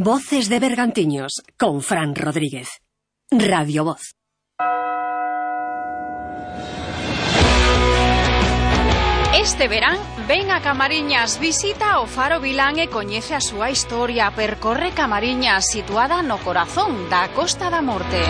Voces de Bergantiños, con Fran Rodríguez. Radio Voz. Este verán, ven a Camariñas, visita o Faro Vilán e coñece a súa historia. Percorre Camariñas, situada no corazón da Costa da Morte.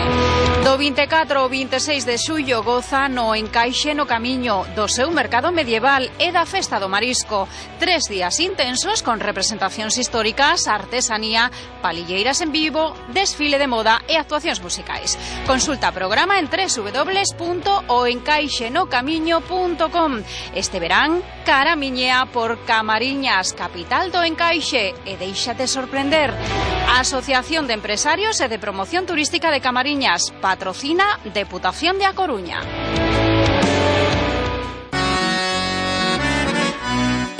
Do 24 ao 26 de xullo goza no encaixe no camiño do seu mercado medieval e da Festa do Marisco. 3 días intensos con representacións históricas, artesanía, palilleiras en vivo, desfile de moda e actuacións musicais. Consulta o programa en www.oencaixenocamiño.com. Este verán, caramiñea por Camariñas, capital do encaixe, e déixate sorprender. A Asociación de Empresarios e de Promoción Turística de Camariñas patrocina Deputación de A Coruña.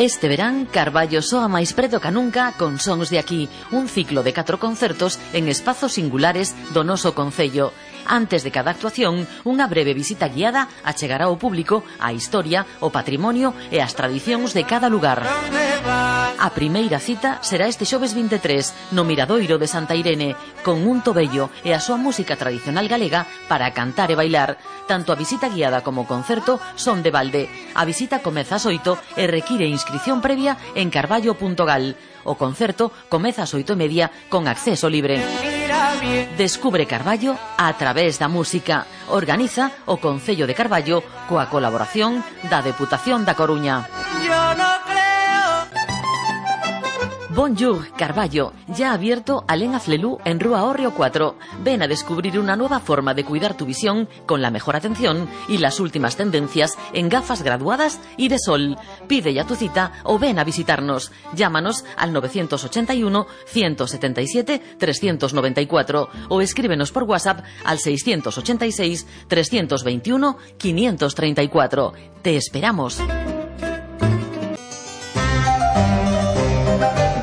Este verán, Carballo soa máis preto ca nunca con Sons de Aquí, un ciclo de 4 concertos en espazos singulares do noso concello. Antes de cada actuación, unha breve visita guiada achegará ao público a historia, o patrimonio e as tradicións de cada lugar. A primeira cita será este xoves 23 no Miradoiro de Santa Irene, con un tobello e a súa música tradicional galega para cantar e bailar. Tanto a visita guiada como o concerto son de balde. A visita comeza ás 8 e require inscrición previa en carballo.gal. O concerto comeza ás 8:30 con acceso libre. Descubre Carballo a través da música. Organiza o Concello de Carballo coa colaboración da Deputación da Coruña. Bonjour, Carballo, ya abierto Alén Aflelú en Rúa Hórreo 4. Ven a descubrir una nueva forma de cuidar tu visión con la mejor atención y las últimas tendencias en gafas graduadas y de sol. Pide ya tu cita o ven a visitarnos. Llámanos al 981 177 394 o escríbenos por WhatsApp al 686 321 534. Te esperamos.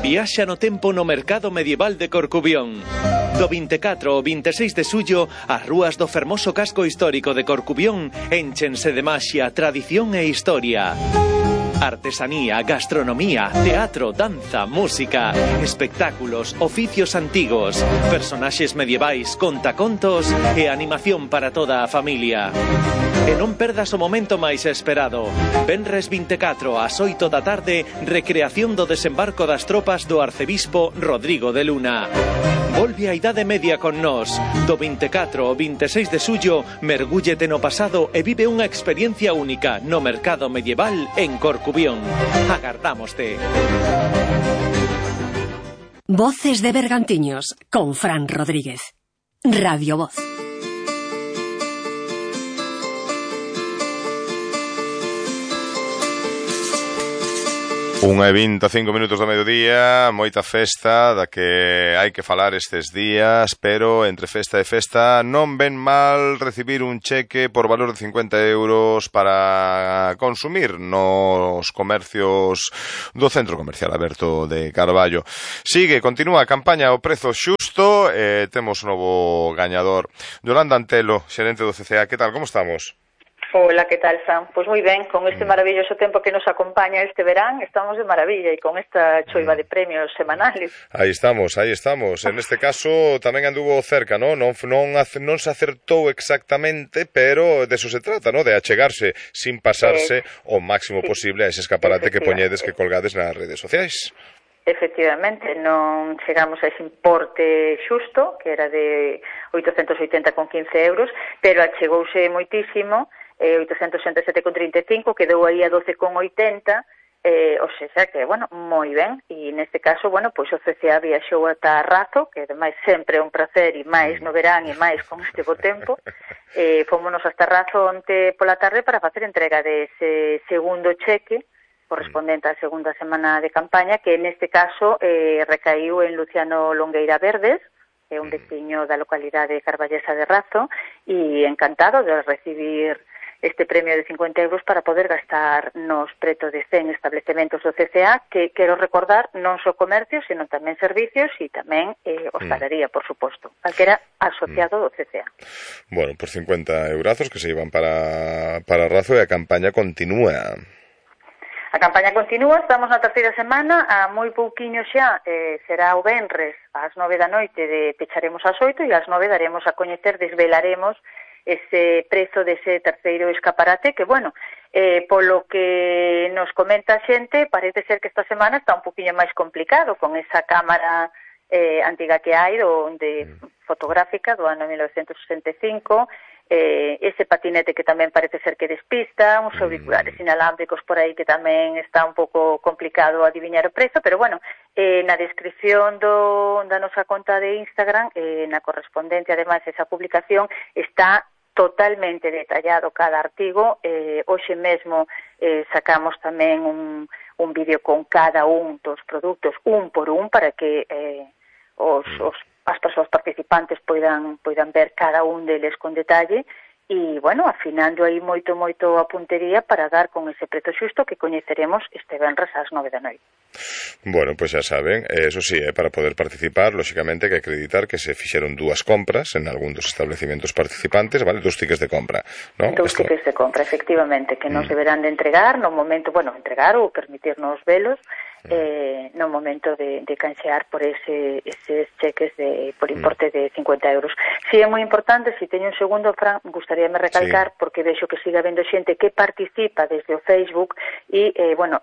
Viaxa no tempo no mercado medieval de Corcubión. Do 24 ao 26 de xullo, as rúas do fermoso casco histórico de Corcubión énchense de maxia, tradición e historia. Artesanía, gastronomía, teatro, danza, música, espectáculos, oficios antigos, personaxes medievais, contacontos e animación para toda a familia. E non perdas o momento máis esperado. Venres 24 ás 8 da tarde, recreación do desembarco das tropas do arcebispo Rodrigo de Luna. Volve a Idade Media con nós. Do 24 ao 26 de xullo, mergúllete no pasado e vive unha experiencia única no mercado medieval en Corcubión. Agardámoste. Voces de Bergantiños, con Fran Rodríguez. Radio Voz. 1:25 do mediodía, moita festa da que hai que falar estes días, pero entre festa e festa non ven mal recibir un cheque por valor de 50 euros para consumir nos comercios do Centro Comercial Aberto de Carballo. Continúa a campaña O Prezo Xusto e temos un novo gañador. Yolanda Antelo, xerente do CCA, que tal, como estamos? Hola, ¿qué tal, Fran? Pues muy ben, con este maravilloso tempo que nos acompaña este verán, estamos de maravilla e con esta choiva de premios semanales. Aí estamos. En este caso tamén anduvo cerca, ¿no? Non se acertou exactamente, pero de eso se trata, ¿no? De achegarse sin pasarse o máximo posible a ese escaparate que poñedes, que colgades nas redes sociais. Efectivamente, non chegamos a ese importe xusto, que era de 880,15 euros, pero achegouse moitísimo, 867,35, quedou aí a 12,80, o sea que, bueno, moi ben, e neste caso, bueno, pois o CCA viaxou ata Razo, que ademais sempre é un placer, e máis no verán e máis con este bo tempo, fomos hasta Razo onte pola tarde para facer entrega dese segundo cheque, correspondente á segunda semana de campaña, que neste caso recaiu en Luciano Longueira Verdes, que é un veciño da localidade carballesa de Razo, e encantado de recibir este premio de 50 euros para poder gastar nos preto de 100 establecementos do CCA, que quero recordar non só comercios, sino tamén servicios e tamén hostalería, por suposto, calquera asociado do CCA. Bueno, por 50 eurazos que se iban para Razo e a campaña continúa. A campaña continúa, estamos na terceira semana, a moi pouquiño xa, será o venres ás 9 da noite, pecharemos ás 8 e ás 9 daremos a coñecer, desvelaremos ese prezo dese terceiro escaparate que, bueno, polo que nos comenta a xente, parece ser que esta semana está un poquinho máis complicado con esa cámara antiga que hai fotográfica do ano 1965, ese patinete que tamén parece ser que despista, uns auriculares inalámbricos por aí que tamén está un pouco complicado adiviñar o prezo, pero bueno, na descripción da nosa conta de Instagram, na correspondente, ademais, esa publicación, está totalmente detallado cada artigo. Hoxe mesmo sacamos tamén un vídeo con cada un dos produtos, un por un, para que as persoas participantes poidan ver cada un deles con detalle e, bueno, afinando aí moito a puntería para dar con ese prezo xusto que coñeceremos este venres ás 9 da noite. Bueno, pois xa saben, eso sí, para poder participar, lóxicamente, hai que acreditar que se fixeron 2 compras en algún dos establecimientos participantes, vale? 2 tickets de compra, ¿no? 2 tickets de compra, efectivamente, que nos deberán de entregar no momento, entregar ou permitirnos velos no momento de canxear por eses cheques por importe de 50 euros. Si é moi importante, si teño un segundo, Fran, gustaríame recalcar, porque vexo que siga habendo xente que participa desde o Facebook e,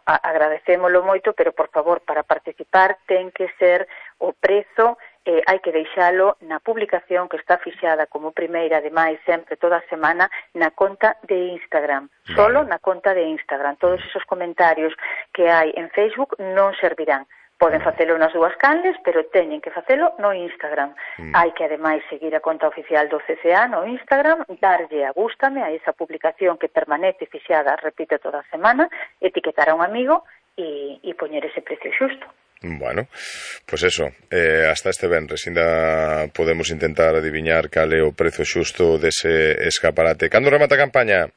agradecémolo moito, pero, por favor, para participar ten que ser o prezo, hai que deixalo na publicación que está fixada como primeira, ademais, sempre, toda a semana, na conta de Instagram. Solo na conta de Instagram. Todos esos comentarios que hai en Facebook non servirán. Poden facelo nas 2 canles, pero teñen que facelo no Instagram. Hai que, ademais, seguir a conta oficial do CCA no Instagram, darlle a gústame a esa publicación que permanece fixada, repito, toda a semana, etiquetar a un amigo e poñer ese precio xusto. Bueno, pois eso, hasta este venres ainda podemos intentar adiviñar cal é o prezo xusto dese escaparate. Cando remata a campaña?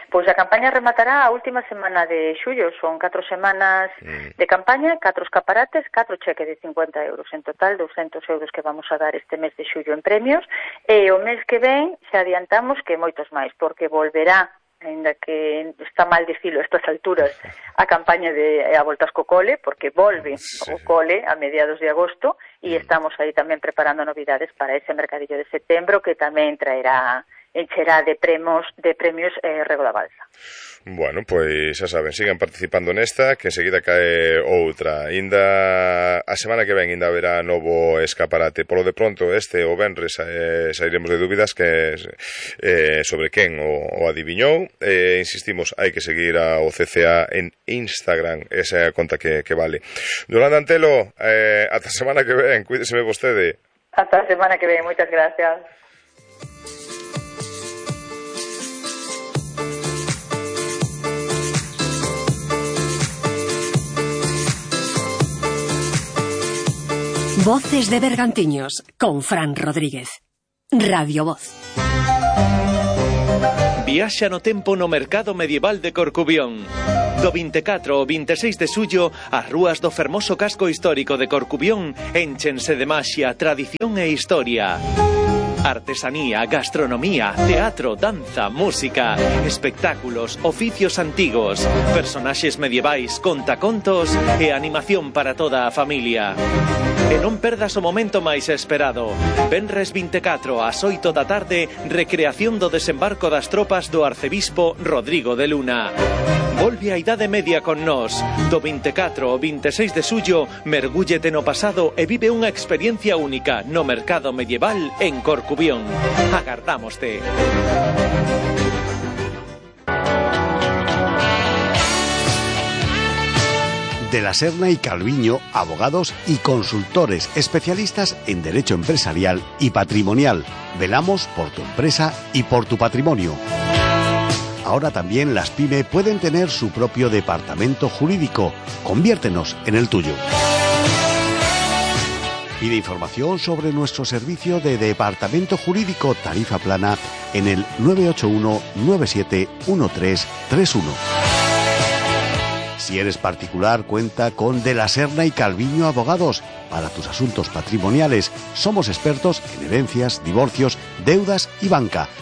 Pois a campaña rematará a última semana de xullo. Son 4 semanas de campaña, 4 escaparates, 4 cheques de 50 euros. En total, 200 euros que vamos a dar este mes de xullo en premios. E o mes que ven xa adiantamos que moitos máis, porque volverá, ainda que está mal dicilo a estas alturas, a campaña de a voltas co cole, porque volve o cole a mediados de agosto e estamos aí tamén preparando novidades para ese mercadillo de setembro que tamén encherá de premios Rego da Balsa. Bueno, pois xa saben, sigan participando nesta, que enseguida cae outra. Inda a semana que ven ainda haberá novo escaparate. Polo de pronto, o venres sairemos de dúbidas que sobre quen o adiviñou. Insistimos, hai que seguir ao CCA en Instagram, esa é a conta que vale. Yolanda Antelo, ata a semana que ven, cuídeseme vostede. Ata a semana que ven, moitas gracias. Voces de Bergantiños, con Fran Rodríguez. Radio Voz. Viaxa no tempo no mercado medieval de Corcubión. Do 24 ao 26 de xullo, as rúas do fermoso casco histórico de Corcubión énchense de maxia, tradición e historia. Artesanía, gastronomía, teatro, danza, música, espectáculos, oficios antigos, personaxes medievais, contacontos e animación para toda a familia. E non perdas o momento máis esperado. Venres 24 ás 8 da tarde, recreación do desembarco das tropas do arcebispo Rodrigo de Luna. Volve a Idade Media con nós. Do 24 ao 26 de xullo, mergúllete no pasado e vive unha experiencia única no mercado medieval en Corcubión. Agardámoste. De la Serna y Calviño, abogados y consultores especialistas en derecho empresarial y patrimonial. Velamos por tu empresa y por tu patrimonio. Ahora también las PYME pueden tener su propio departamento jurídico. Conviértenos en el tuyo. Pide información sobre nuestro servicio de departamento jurídico tarifa plana en el 981 97 1331. Si eres particular, cuenta con De la Serna y Calviño Abogados. Para tus asuntos patrimoniales, somos expertos en herencias, divorcios, deudas y banca.